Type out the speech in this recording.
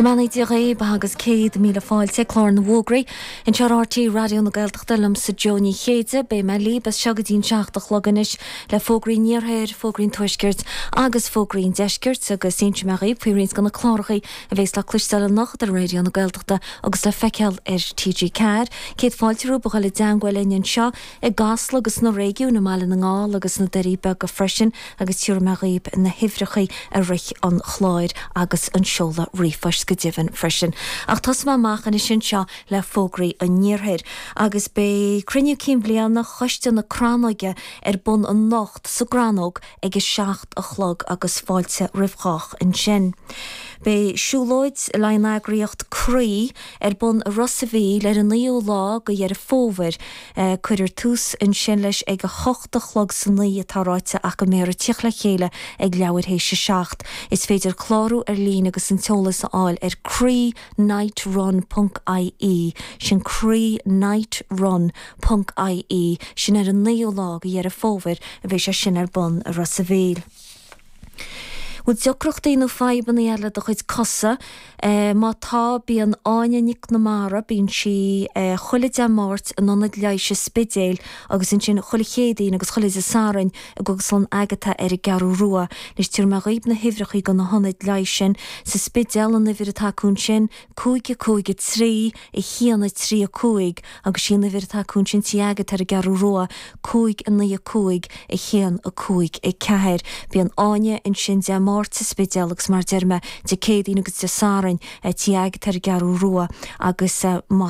Go mbeannaí Dia dhaoib agus 100,000 fáilte, Clár na bhFógraí, anseo ar RTÉ Raidió na Gaeltachta liomsa Joe Ní Chéide. Beidh mé libh as seo go dtí an 7 a chlog anois le fógraí an Iarthair, fógraí an Tuaiscirt agus fógraí an Deiscirt agus inseoidh mé dhaoib faoi roinnt de na cláracha a bhéas le cloisteáil anocht ar Raidió na Gaeltachta agus le feiceáil ar TG4. Céad fáilte romhaibh a dhul i dteangmháil linn anseo i gCasla agus sna réigiúin, i mBaile na nGall agus sna Doirí Beaga freisin agus tabharfaidh mé dhaoib na huimhreacha i rith an chláir agus an seoladh ríomhphoist go deimhin freisin. Ach tosóidh mé amach anois anseo le fógraí an Iarthair agus beidh cruinniú cinn bhliana Choiste na Crannóige ar bun anocht sa gCrannóg ag a 7 a chlog agus fáilte roimh chách ansin. Beidh siúlóid le an eagraíocht Croí ar bun i Ros a' Mhíl ar an 9ú lá de Dheireadh Fómhair. Cuirfear tús ansin leis ag a hocht a chlog san oíche atá ráite ach go mbeifear ag tíocht le chéile ag leathuair théis a 7. Is féidir clárú ar líne agus an t-eolas a fháil ar croí nightrun ponc ie, sin croí nightrun ponc ie, sin ar an 9ú lá de Dheireadh Fómhair a bheidh sé sin ar bun i Ros a' Mhíl. Bhfuil deacrachtaí nó fadhbanna eile le do chuid cosa? Má tá, bíonn Áine Nic na Mara, bíonn sí chuile Dé Máirt in Ionad Leighis an Spidéil agus ansin chuile Chéadaoin agus chuile Dé Sathairn i gCógaslann Agatha ar an gCeathrú Rua. Anois tabharfaidh mé dhaoib na huimhreachaí do na hionaid leighis sin. Sa Spidéal, an uimhir atá acu ansin, 5 5 3 1 3 5 agus sí an uimhir atá acu ansin Tí Agatha ar an gCeathrú Rua, 5 9 5 1 5 4. Bíonn Áine ansin Dé Máirt sa Spidéal agus mar a deir mé, Dé Céadaoin agus Dé Sathairn, Tí Agatha ar an gCeathrú Rua agus más.